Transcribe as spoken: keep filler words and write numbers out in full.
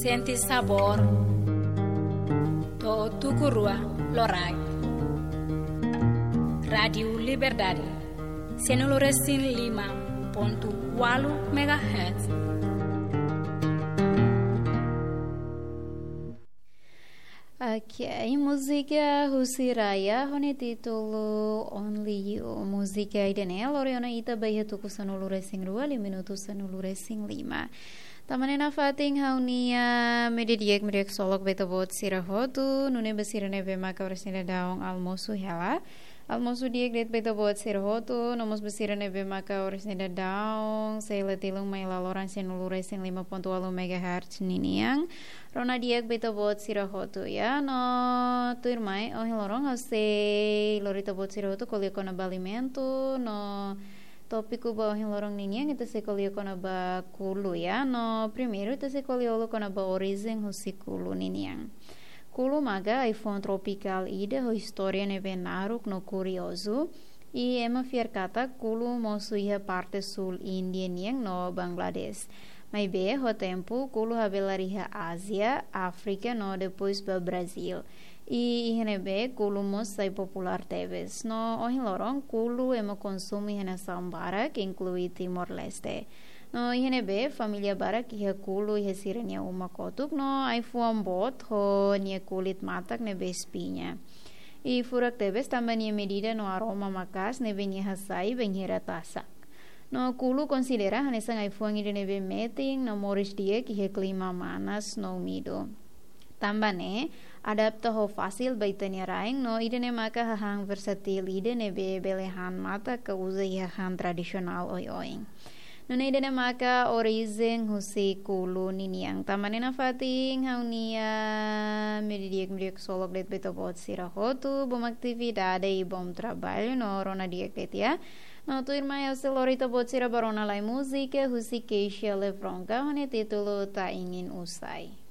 Sente sabór. To'o tuku rua loraik. Rádiu Liberdade. Sanulu resin lima pontu ualu megahertz. Oke, múzika husi Raya ho nia títulu Only You. Múzika ida-ne'e lori ona ita ba iha tuku sanulu resin rua, liu minutu sanulu resin lima. Tanba ne'e nafatin ha'u-nia media di'ak, media ksolok ba ita-boot sira hotu, nune'e ba sira ne'ebé maka oras ne'e daudaun almosu hela. Almosu di'ak de'it ba ita-boot sira hotu, no mós ba sira ne'ebé maka oras ne'e daudaun sei la tilun mai laloran sanulu resin lima pontu ualu megahertz ninian. Rona di'ak ba ita-boot sira hotu, ya. No tuirmai, ohin loron ha'u sei lori ita-boot sira hotu ko'alia kona-ba alimentu, no tópiku ba ohin loron ninian ita sei ko'alia kona-ba kulu, ya. No primeiru ita sei ko'alia halo kona-ba orijen husi kulu ninian. Kulu maka ai-fuan tropikál ida ho istória ne'ebé naruk no kuriozu. I ema fiar katak kulu mosu iha parte súl Índia nian no Bangladesh. Maibé ho tempu kulu habelar iha Ázia, Áfrika no depois ba Brazíl. I iha ne'ebé kulu mós sai populár tebes. No ohin loron kulu ema konsumu iha nasaun barak, inklui Timor-Leste. No iha ne'ebé família barak iha kulu iha sira-nia uma kotuk, no ai-fuan boot ho nia kulit matak ne'ebé espiña. I furak tebes tanba nia medida no aroma maka'as ne'ebé nia hasai bainhira tasak. No kulu konsidera hanesan ai-fuan ida ne'ebé metin no moris di'ak iha klima manas no úmidu. Tanba ne'e adapta ho fasil ba ita-nia rain, no ida-ne'e maka hahán versátil ida ne'ebé bele han matak ka uza iha han tradisionál oioin. Nune'e ida-ne'e maka orijen husi kulu ninian. Tanba ne'e nafatin ha'u-nia media di'ak, media ksolok de'it ba ita-boot sira hotu, bom atividade i bom trabalho, no rona di'ak de'it, ya. No tuirmai ha'u sei lori ita-boot sira ba rona lai múzika husi Keisha Levronka ho nia títulu Ta Ingin Usai.